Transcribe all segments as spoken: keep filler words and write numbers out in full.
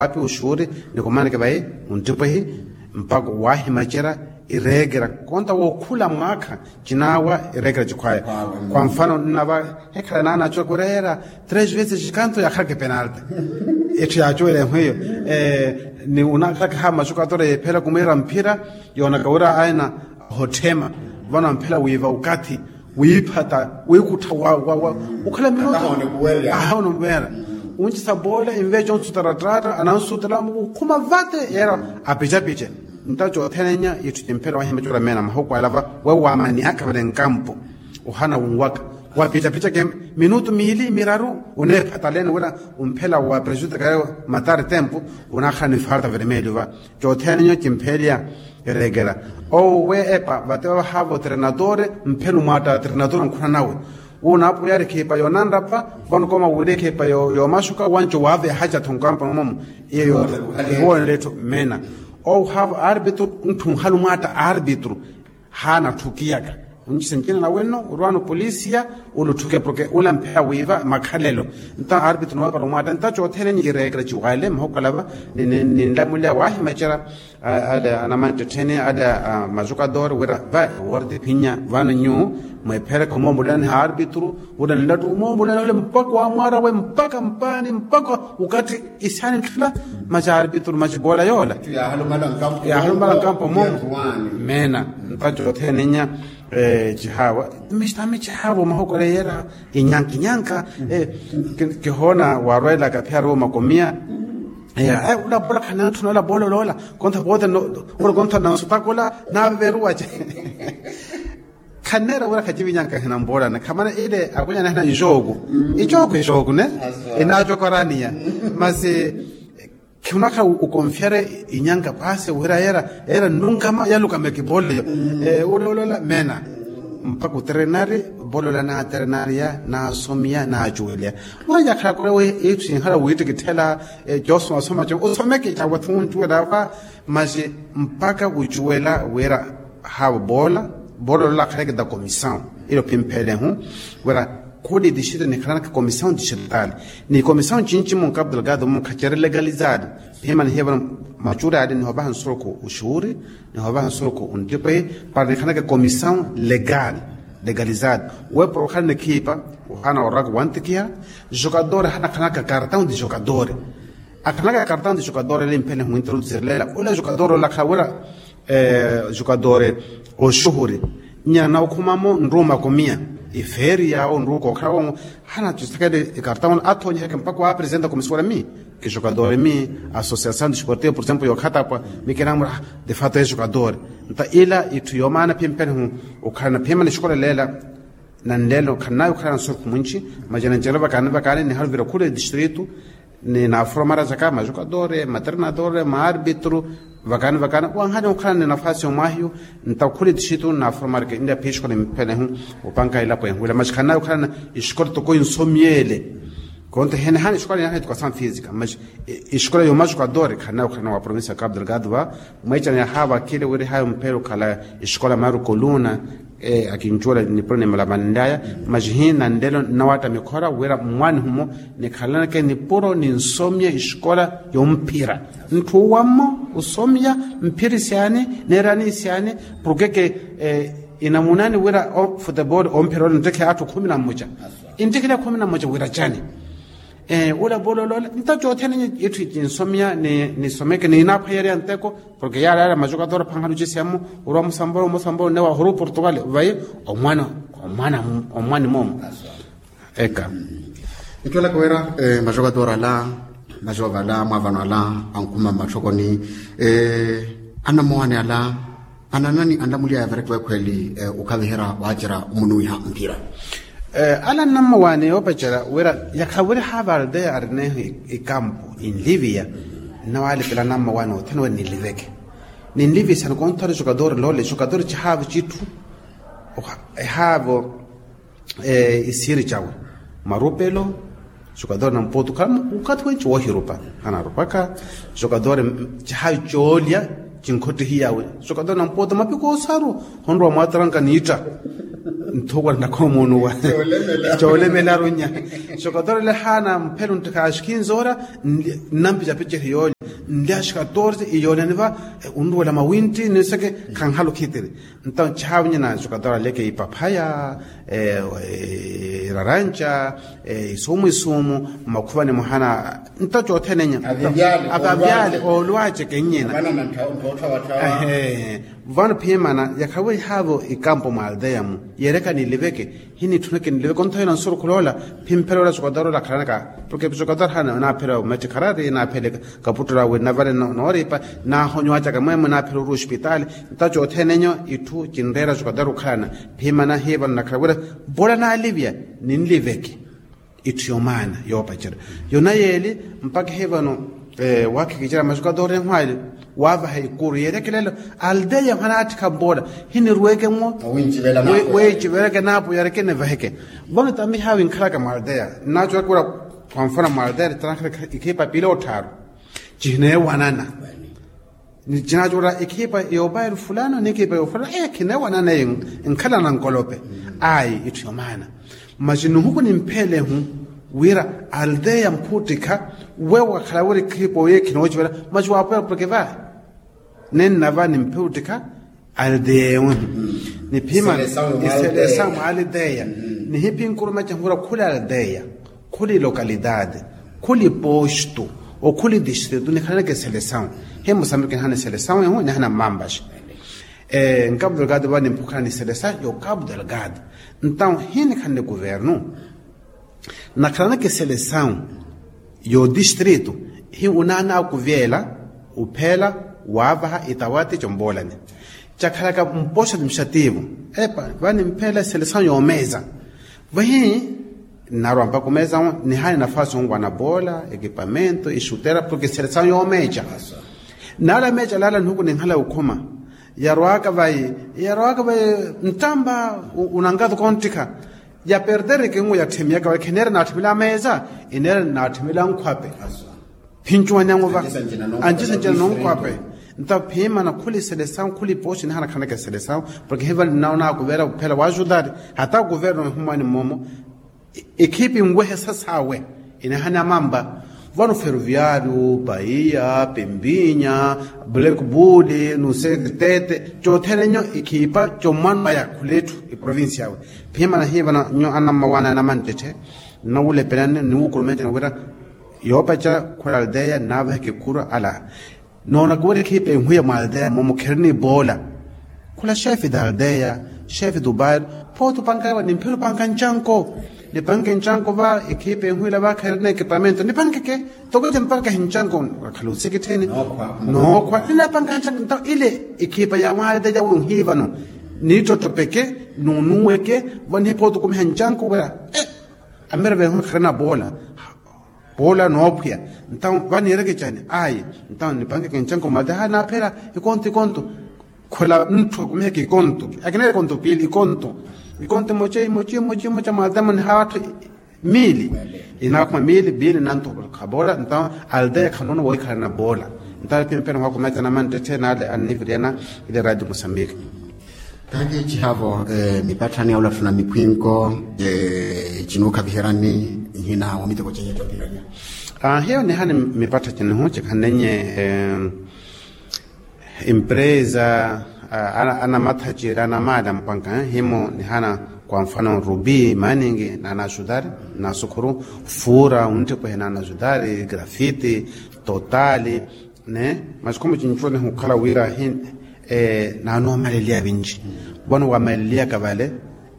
api uxuuri, nikumaneke vayi, unttipwehi mpakha wahimacerya ireekera konta wookhula mwaakha. Cinaawa ireekera cikhwaya. Kwa mfano nnava hekhala naana acuwa kureera tres veces cikanto yaakhalaka epenalte. Etthu yaacuwela ehwiyo ni unakhalaka ha macukatora yeephela kumwiira mphira, yoonaka wira aina ohotthema vano amphela wiiva ukathi wiiphata wiikuttha wa wa wa ukhala minutu. Ahawona omuweera. Uncisa boola inveya consuta rattaatta anansutela mukhuma vate yeera apicapice. Nta cothene nya itthu cimphela wahimacula meena mahuku alava we waamaniyaka vale nkampo. Ohana wunwaka wapicapica ke minutu miili miraru uneephataleni wira umphela wa prejudicaya matari tempu. Unakhala ni falta vermelho va cothene nyo cimpheliya ereekela. Owo we epa vate vavahaavo trenadore mphelu mwatta trenadore nkhuna nawe. Wu naapulyari ekhipa yoonanrapha vano kooma wuuli ekhipa yoomaxuka wanci waavehaca-tho nkampo nomomo. Iyo yoole etthu meena owo haavo arbitru ntthu nhalu mwaatta arbitru. Haana atthukiyaka. Oncisa ncina nawenno orwaano polisiya olutthuke porke ula mphela wiiva makhalelo. Nta arbitru noopala omwaatta nta cothene nyi ireekela ciwaale mahuku alava. Ninlamuliya waahimacerya ale anamantthettheni ale amacukadori wira va eworti phinya vano nyu mweephereke omoombolelani ha arbitru. Wira nlattu omoombolelani ole mpakha waamwaarawe mpakha mpaani mpakha ukathi isyani ntthulla. Maci arbitru maci boola yoola yaahalumala nkampo moomo. Meena nta cothene nya cihaawa. Mistami cihaawa omahokole yeera inyanka inyanka. Kihoona waarwelaka phiyari wo makomiya. Ula boola khanantthu noola boola oloola konta poote. Ula konta nansutakula naaveveruwace. Khanneera wira khacivinyanka hina mboolana khamana ile akwenya nahina ixooku. Ixooku ixooku ne inaacokoraniya. Masi khunakha ukonfyare inyanka paasi wira yeera yeera nnunkama yalukama ekipooleyo. Oloolola meena mpakha utrenari. Polola naatrenariya naasomiya naacuweliya. Mwaanyakhala kula we itthu sinhala wiittikitthela coosomasoma co osomeke cawe thuncuwela apa. Masi mpakha ucuwela wira haavo poola polola akhaleke ta komisawu. Ilo phimphelehu wira khuli distrito nikhalanaka komisawu distrital ni komisawu cinci munkapu delgado munkha ceri legalizado. Phimanihiye vano macuri ale nihovaha nsurukhu uxuuri nihovaha nsurukhu unttipe para nikhanaka komisawu legal. Legalizado we para okhala nikhiipa ohana oraka wantikiha. Jogador hanakhanaka kartawu nti jogador akhanaka kartawu nti jogador ele mphene hwinteru nti sirilela ula jogador olakhala wira jogador oxuhuri nyana okhumamo nruuma komiya ifeeri yaawo nruuka okhala wongo. Hana tustakele ikartawu athonyiheke mpakha waapresenta komisiwala mi ijokadori mi asosiasawu disportivo por exemplo yookhatapwa mi kinamura. Defato ejokadori nta ila itthu yoomaana phimphene hu okhalana phimana exikola leela nanleelo khannayo okhalana nsurukhu mwinci. Majananjelo vakaani vakaani nihaluvira khula edistritu ni naaforomara jaka majokadori matrenadori maarbitru vakaani vakaani wanhani okhalana ni nafasi yomwahiyo. Nta khula edistritu naaforomara ke nlya phi exikola emphene hu opanka elapo enhuwela maxi khannayo okhalana exikola toko ensomyele. Konta ehene hana exikola yaaha edukasawu fisika maxi exikola yomajokadori khannayo okhalana wa provincia ya cabo delgado va. Mweecana yahaava akhile wira ehaayo mphele okhala exikola maru koluna akincuwela nipuro nimalamanlyaya. Maxi hina nlelo nnawaatta mikhora wira mmwaani humo nikhalaneke nipuro ninsomya exikola yomphira. Ntthu uwammo osomya mphira isyani neerani isyani porkeke inamunani wira futebolo omphira ole nttekheya atthu khumi na mmoja. Inttekheya khumi na mmoja wira cani? Ula polola ole nta cothene itthu cinsomya nisomeke ninaphwayerya nteko. Porke yaala yaala majokadori aphankhana ocisiya mmo orwa musambolo musambolo nne wahuru portugal vayi omwana omwana omwani moomo. Eka. Nttwelaka wira majokadori ala majoova ala mwaavano ala ankhuma mmatthokoni anammowaani ala ananani anlamuly'aya varekiwa ekhweeli okhaviherya waacerya omunuwiha mphira. Ala nnammowaani yoopacerya wira yakhala wira haava aldeya arineeho ikampu inliviya nnawaalipela nnammowaani othene wira ninliveke ninlivisani konthari jokadori loole jokadori cihaavo citthu ehaavo isiiri cawe marupelo. Jokadori nampuutu khala okathi wenci woohirupa hanarupaka. Jokadori cihayi coolya cinkhottihiyawe jokadori nampuutu mapiko osaru honrowa mwaataranka niitta nthuukwala nakhomuunuwa coolemelaru nya. Jokadori ole haana mphelo nttikhaxikhinzoora nnampicapicehi yoolya. Nlyaxi katorse iyoolani va. Unruwela mawintti ninseke khanhala okhitiri. Ntawo chihaavinye na jogador aleke ipaphaya, iraranca, isumu isumu mmakhuvani mwahana. Ntawo chothene enya. Avavyale oolwace kennyina. Vano phimana yakhawihihaavo ikampo mwa aldeya mu yeereka niliveke. Hinitthuno kinliveke onthayina nsurukhu loola. Phimphela ola jogador ola akhalanaka. Porke jogador hana naaphela ometti kharari naaphele kaputto lawe navale nooripa. Naahonyo acaka mwemwe naaphela oruwa ospitaali. Ntawo chothene enyo itthu kinreera jogador okhalana. Phimana hiivano nakhala wira mpoola naalivya ninliveke. Itthu yomaana yoopacerya yona yeeli. Mpakha ehivano waakhikicerya majogador enhwaali waavaha ikuru yeerekelelo. Aldeya mwa naattikha mpoola hiniruweke mwo. Weinciveleke naapo yareke nivaheke. Vano tamihawi nkhalaka mwa aldeya nnaacowaka ula. Kwa mfano mwa aldeya tanakhale ikhipa piili otthaaru cihineewanana. Ni cinaacoora ekhipa yoopairu fulano ni ekhipa yoofulano eyo khineewanana eyo. Nkhalana nkolope. Ayi itthu yomaana. Masi nihuku nimphelehu wira aldeya mphuttikha wewo wakhala wira ekhipa oyo ekhinoocivela. Masi waapoya porke va nennava nimphe uttikha aldeya ewehu. Niphimana iselesawu mwa aldeya. Nihiphi nkurumeca nhura khuli aldeya khuli lokalidade khuli postu okhuli distritu nikhalanaka eselesawu. Hi musambiki nihana eselesawu ehu nihana mmampaxi. Nkapu delgado va nimphukhala ni selesa yo kapu delgado. Ntawo hi nikhanle kuvernu nakhalanaka eselesawu yo distritu. Hi unaana akuvyela uphela waavaha itawati compoolani cakhalaka mpoxa administrativo. Epa va nimphela eselesawu yoomeeza. Vahi nnaarwa mpakha omeeza nihana nafasi onwana poola ekipamento ixutera porke eselesawu yoomeeca. Naala meeca laala nihuku ninkhala okhuma yarwaka vayi yarwaka vayi ntampa unankatuka onttikha. Yaperdereke nwo yatthimiyaka vayi khineera naatthimila ameeza ineera naatthimila nkhwape. Phincuwanyang'uva anci sanjina nonkhwape. Nta phimana khuli selesawu khuli poosi nihana khanaka selesawu. Porke hiva nnaona akuveera kuphela wa ajudari hata akuveera onihumwani mmomo. Ekhipi nwehe sasawe inihana mampa vano feruviario paiya pempinya black bull nusekitete. Cothene nyo ekhipa comwano aya khula etthu eprovincia awe. Phimana hiva nyo anammawana anamanttetthe nnawulepelani niwukulumecana wira yoopaca khula aldeya nnaavaheke khura ala. Noona kuwira ekhipa enhwiya mwa aldeya momo kherina epoola. Khula xefe da aldeya xefe dubairo. Phooti opanka ewa nimphela opanka ncanko. Nipanke ncanko va ekhipa enhwiila va kherina ekipamento nipankeke. Toko eti nipankehe ncanko wakhala osikitthini nookhwa ninapanka ncanko ntawo ile ekhipa ya mwa aldeya wi onhiivano. Niittottopeke nunuweke vanihi phooti okumiha ncanko wira. Amera venhula kharina poola poola noophwiya. Ntawo vaniireke cani ayi. Ntawo nipankeke ncanko mate ha naaphela ikonto ikonto. Khula ntthu akumiheke ikonto akina ikonto piili ikonto. Ikonto imoca imoca imoca imoca mate mwa nihaatthu miili inaakhuma miili piili nanto khaboola ntawo aldeya khanoona woikhalana poola. Ntawo pimpena hwakumecana manttetthe naale anniviriyana ile radio mosambiki. Kaakhici haavo mipatthani ya olatthuna mikhwinko cinuukhaviheryani nhina wa miteko ceiya coopiranya. Hiyo nihani mipattha cinihu cikhanenye empresa anamathaci ira anamaali ampanka himo nihana kwa mfano rubi maningi naana ajudari nasukhuru fura unttipuhe naana ajudari grafiti totali. Ne masi khumu cincuwa nihukhala wira hi naanoomaleliya vinci. Vano wamaleliyaka vale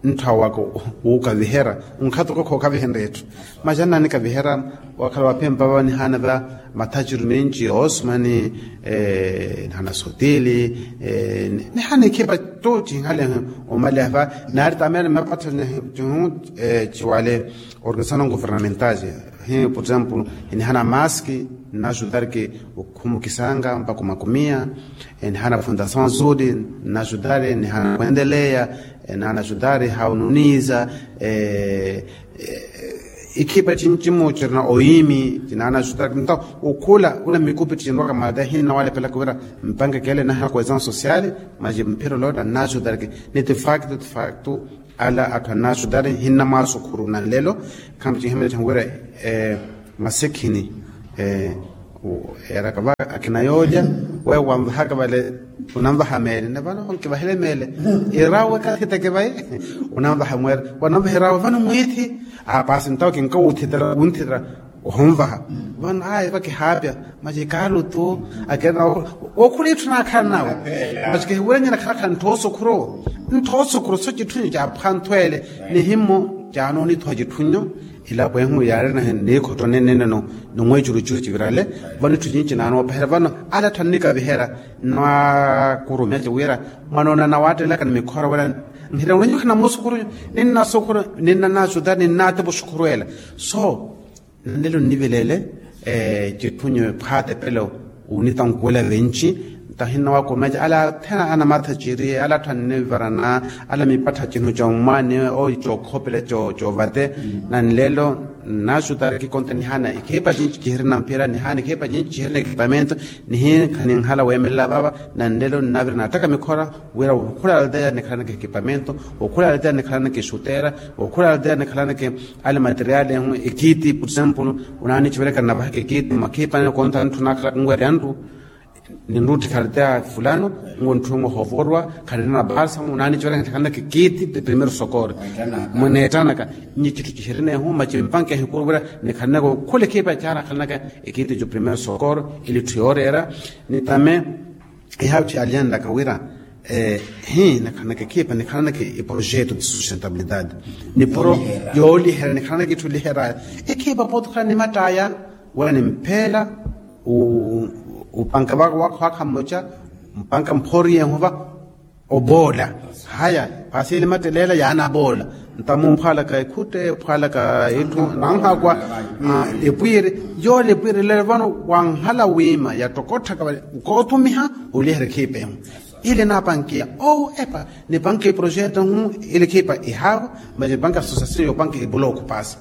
ntthawa waka wuukaviherya nkhatukha khookavihenrya etthu. Masi annaanikaviherya wakhala waphempa va nihana va mathaciru minci osmani nihana sotili nihana ekhipa tu cinhale. Omaliha va naari tamera mmapattha cihu ciwale organisasanon governamental hi por exemplo nihana maski nnajudarki okhumukisanga mpakha omakumiya. Nihana fundasaw azuli nnajudari nihana kwendeleya nihana judari haununiza ikhipa cincimu cirina oyiimi cinana judari nto okhula una mikupi cinrwaka mada hinna walepelaka wira mpangekele nahana koesaw sosiali maji mphiro lota nnajudariki ni tifaktu tifaktu ala atthu annaajudari hinna mwaasukhuru na nlelo. Khamu cinhemela cinhuwira masekhini Eeraka va akina yoolya, weyo wanvahaka vale, unanvaha meele ne vano nkivahele meele. Irawe kathiteke vayi, unanvaha mweere, wananvaha irawe vano mwiithi. Apaasi ntawo kinkawuthitela wunthitela, ohonvaha vano ayi vakihaapya. Maci ikaalu tu akirina, okhula itthu naakhala nawe. Maci kihiwulenye nakhalakhala ntthu osukhuru. Ntthu osukhuru so citthu nyo caaphwanthu ele, nihimmo caanoonithuwa citthu nyo. Ilapo ehu yaari nahi niikhotto neneneno, nimweecurucuru civirale. Vano itthu cinci naanoopehela vano, ala atthu annikaviherya, nwakurumeca wira mwanoona nawattelaka ni mikhora wira, nhira unenyo khanamusukhuru, ninnasukhuru, ninnanasuta ninnaatepa osukhuru ela. So nanlelo nnivelele, citthu nyo ephwaatepelo, onitankuwela vinci. Nto ahinna wakumeca ala athena anamatha ciri, ala atthu annivarana, ala mipattha cinhu commwaani, oyi cookhopela coovate. Nanlelo nnaxutari kikonta nihaana ikhipa cinci cihirina mphira, nihaana ikhipa cinci cihirina ekipamento. Nihinkha ninhala weemelela vava. Nanlelo nnavira naattaka mikhora wira okhula alteya nikhalanaka ekipamento, okhula alteya nikhalanaka exutera, okhula alteya nikhalanaka ale materiali ehu ekiti por example. Unaanici velekana navahaka ekiti mwakhipani konta ntthu naakhalaka nwerya nru, ninrutthi kharteya fulano, ngu ntthu muhovorwa kharina na balsamu unaanici velekana nikhalanaka ekiti de primero sokoro. Mweneettanaka nyi citthu cihirina ehu maci mpanka ehikuru vira nikhalanaka okhula ekhipa caana khalanaka ekiti co primero sokoro. Ili itthu yooreera nitame. Ihaatthi aliyanlaka wira hi nikhalanaka ekhipa nikhalanaka eprojeto de sustentabilidade, nipuro yooliherya nikhalanaka itthu oliheraya. Ekhipa pooti okhala nimattaya wira nimpheela upanka vakha mmoca, mpanka mphoriyehu va oboola. Haya paasi elimatteleela yaanaboola. Ntamu mphwaalaka ekhutte mphwaalaka itthu nanhakwa epwiiri. Yoola epwiiri lelo vano wanhala wiima yattokotthaka vale nkootumiha oliherya ekhipa ehu. Ile naapankiya owo epa nipanke eprojeto hu, ile ekhipa ihaavo. Maci nipanke associasion yoopanke ebuloku paasi.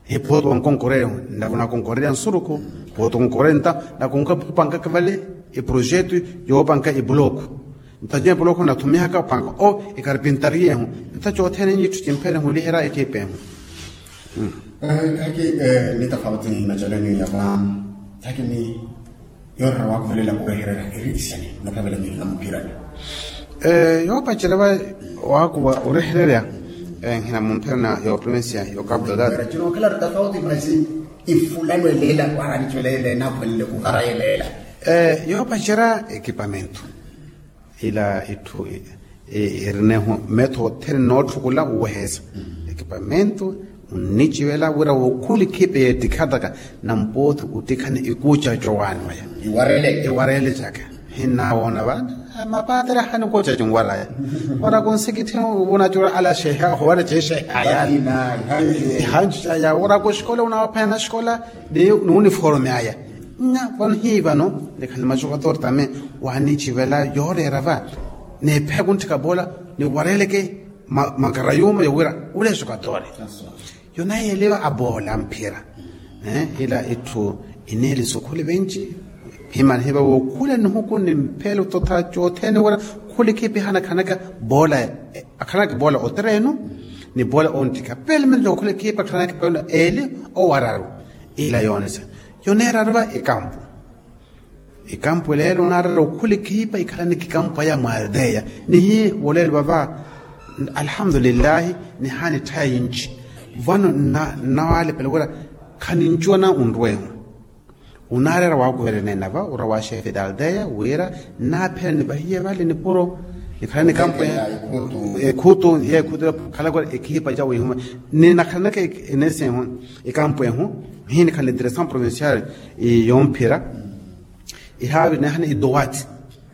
Hi pooti wankonkorerya navo nakonkorerya nsurukhu. Pooti onkorerya nta nakonka khupankaka vale eprojeto yoopanka ebuloku. Nta cempo lokho nathumihaka opanka o ekarpintaria ehu. Nta cothene nyi itthu cimpherehu oliherya ekhipa ehu. Khaki ni tafauti ni macalani ya va khaki ni yoorera waakuvelela orehererya eri isani. Notavela mihina muphirani yoopacerya va waakuva orehererya. Nhina mumphirana ya oprovincia ya okapu delgado. Cino okhala tafauti masi ifulano eleela waraanici veleela enaakuvelele kuvara eleela. Yoopacerya ekipamento ila itthu irinehu metho othene nootthukhula oweheesa. Ekipamento onnicivela wira wookhula ekhipa yeettikhataka nampooti ottikhani ikuucaco waani waya. Iwareele caka hinnawoona va mapaatera ahani ikuucaco nwaraya. Wara kunsikitthi vunacula ala xeha ohuwara ceexehaya. Ihancu caya wara kuxikola unaaphwanya naxikola ni uniforme aya. Nya vano hii vano nikhale macuka tortame waaniicivela yooreera va neepheya kuntthika boola niwareeleke. Makara yuuma yowira uleesuka toore. Yonayeeliwa aboola mphira ila itthu ineeli sukhuli vinci. Himana hiva wookhula nihuku ni mphelo totha cothene wira khuli khipi hana khanaka boola akhanaka boola otereenu ni boola onttikha pelmento okhula khipi akhanaka boola eeli owararu. Ila yoonisa yoneeraru va ekampu. Ekampu eleelo onaarela okhula ekhipa ikhalanaka ekampu aya mwaalteya nihi woleelo vava. Alhamdulillahi nihaana etthaya yinci vano nnawalepela wira khanincuwana onrwehu. Onaareera waakuvelela neena va ora wa xefe dalteya wira nnaaphela nivahiye vale nipuro nikhalana ekampu ekhutu ye ekhutu khalaka ekhipa ca wihuma ninakhalanaka enesi ehu ekampu ehu. Hii nikhala direção provincial yomphira ihaavi nehana idowati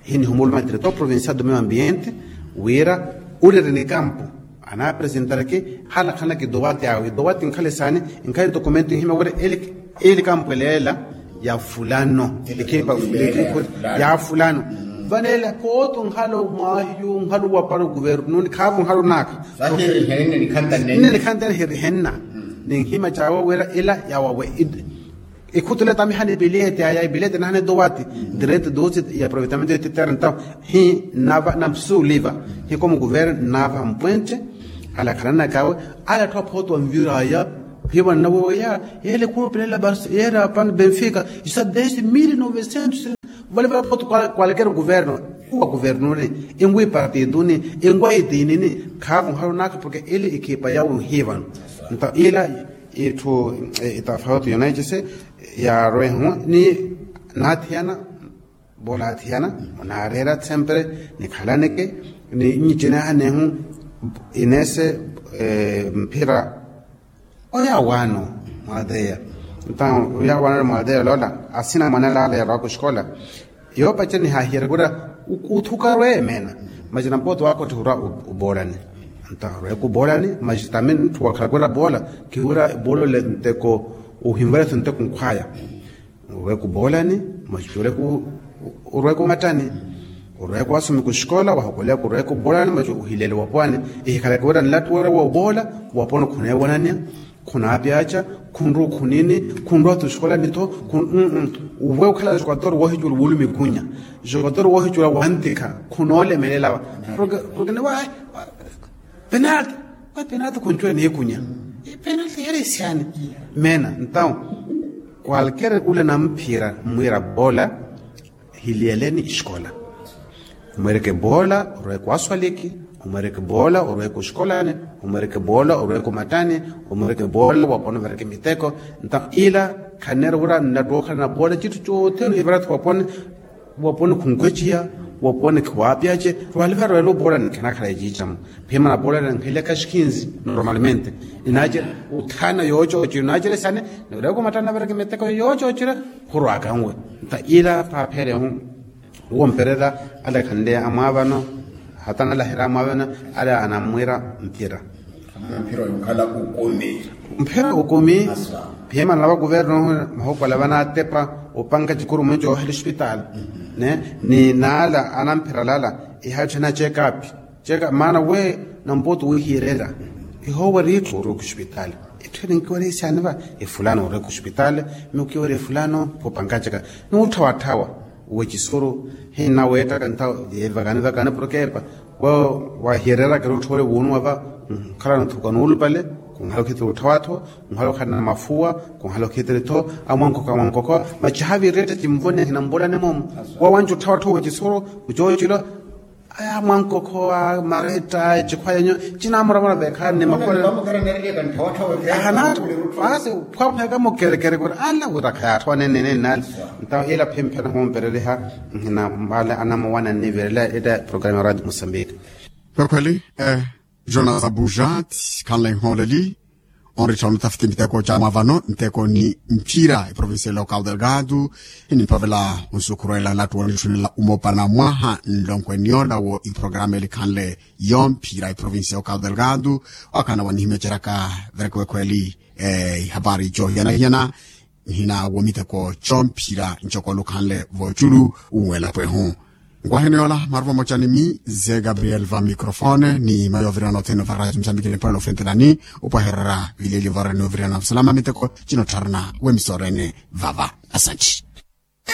hii nihumuluma diretor provincial do meio ambiente wira ulirina ekampu anaapresentareke halakhanaka idowati awe idowati nkhala esaani nkhala idokumento ihima wira ili kampu eleela ya fulano ekhipa ya fulano. Vaneela pooti onkhala omwahiyu onkhala owapara okuvernu ni khaavi onkhala onaakha nne nikhantene hirihenna ninhima cawe wira ila yawawe. Ikhutula tamihana epiliyete aya epiliyete nahana edowati direte dosi ya aproveitamento ya tetera ntawo hi nava namsuliva hi komo kuvera nava mpwente. Alakhalanaka awe ala atthu aphoto anviraya Hiyo vana nawe weya, yele khurupelela basi yera apana benfica, isa dez mil novecentos. Vale vale poto kwalekera guverno, wa guvernoni, engwi partiduni, engwa idinini. Khakunharu naka porke ele ekipa yawe nhivano. Nta ila itthu itafauti yonecese yarwehu ni nathiyana. Bola athiyana, onaarera tsempre, nikhalaneke, ni nyicenehanehu inese mphira. Oya wano mwateya. Nta oya wano mwateya lola asina mwanala ala yarwaka oxikola. Yoopacela nihahiyerya kura uthuka rwemena. Macina mpooti wakotthe ura ubolani. Nta rweka ubolani macitami ntthu wakhala kura bola. Kiwura bolole nteko uhinvaleso nteko nkhwaya. Orweka oboolani, macucu orweka omattani. Orweka owasomeka oxikola wahokoleya korweka oboolani macucu ohilele wapwani. Ehikhalaka wira nlattu wira wooboola waponi khuneewonanya, khunaapyaaca, khunrwa okhunini, khunrwa-tho oxikolanitho. Uwe okhala jokatori wohicula wuulumi kunya, jokatori wohicula wantikha, khunoolemelela. Porke niwa penalti, wa penalti khuncuwa niikunya. Penalti yari esiani. Mena ntawo, kwalkere ule namphira mmwira boola, hiliyeleni exikola. Omwereke boola orweke waswaliki, omwereke boola orweke oxikolani, omwereke boola orweke omattani, omwereke boola waponi overeke miteko. Ntawo ila khanneera wira nnattookhala na boola cittu cothene ivira-tho waponi. Waponi khunkweciya, waponi khiwaapyace. Rwaliva rwela oboolani khanakhala eciicamu. Phimana boolani nkhileka xikinzi normalmente. Inaacela utthana yoocoocira inaacela esani, nireko mattana vereke miteko yoocoocira. Khurwaka nwe nta ila paapherehu. Womperela ale khanle amwaavano, hata nalaherya amwaavano, ale anammwira mpira. Mphira okumi. Phimana va kuverno mahukwala vanaatepa opanka cikuru mwenco ohela ospitaali. Ne ni naala anamphira lala ihatthu ena check up. Check up maana we nampooti wihiyelela. Ihoowa riitthu orweka ospitaali. Itthu eri nkiwari esiani va efulano orweka ospitaali. Mikukiwari efulano phopanka check up. Nuutthawatthawa. Wecisuru hinna weettaka ntawo yeevakani vakani porkepa. Wahiyereraka erutthu wari wuunuwa va. Nkhalano thuka nuulupale. Khunhala okhitiri otthawa-tho. Khunhala okhalana mafuwa. Khunhala okhitiri-tho amwankoko amwankoko. Macihaviretta cimvone hinambolane moomo. Wawanci otthawa-tho wecisuru. Kucoocilo. Aya mwankoko a maretta ecikhwa yenyu. Cinamuramura vekhaani ni makhole. Ahana. Basi phwaphweka mukerekere kuri ala wira khayaatthowa nenenenali. Ntawo ila phimphena khumpereriha. Nhina mbale anamuwana nnivirela etta programa ya radio mosambika. Kwekhweli. Jonas abuja ti khanle nhooleli. Onrittha onotafiti miteko ca mwaavano nteko ni mphira eprovincia local delgado. Inimphavela onsukhurwela lattu wonitthunela umopana mwaha nlonkweniyo lawo iprograma elikhanle yomphira eprovincia local delgado. Wakana wanihimeceraka verekewekhweli ihapari cohiyana-hiyana. Nhina womiteko comphira ncokolo khanle voculu. Unwela pwehu. Nkwahene yola maruva mocanimi ze gabriel va microfone ni mayovirana othene varaja msambikile mpwela ofentelani. Upwaherera vileli varani ovirana vasalama miteko cinottharana wemisorene. Vava asanti.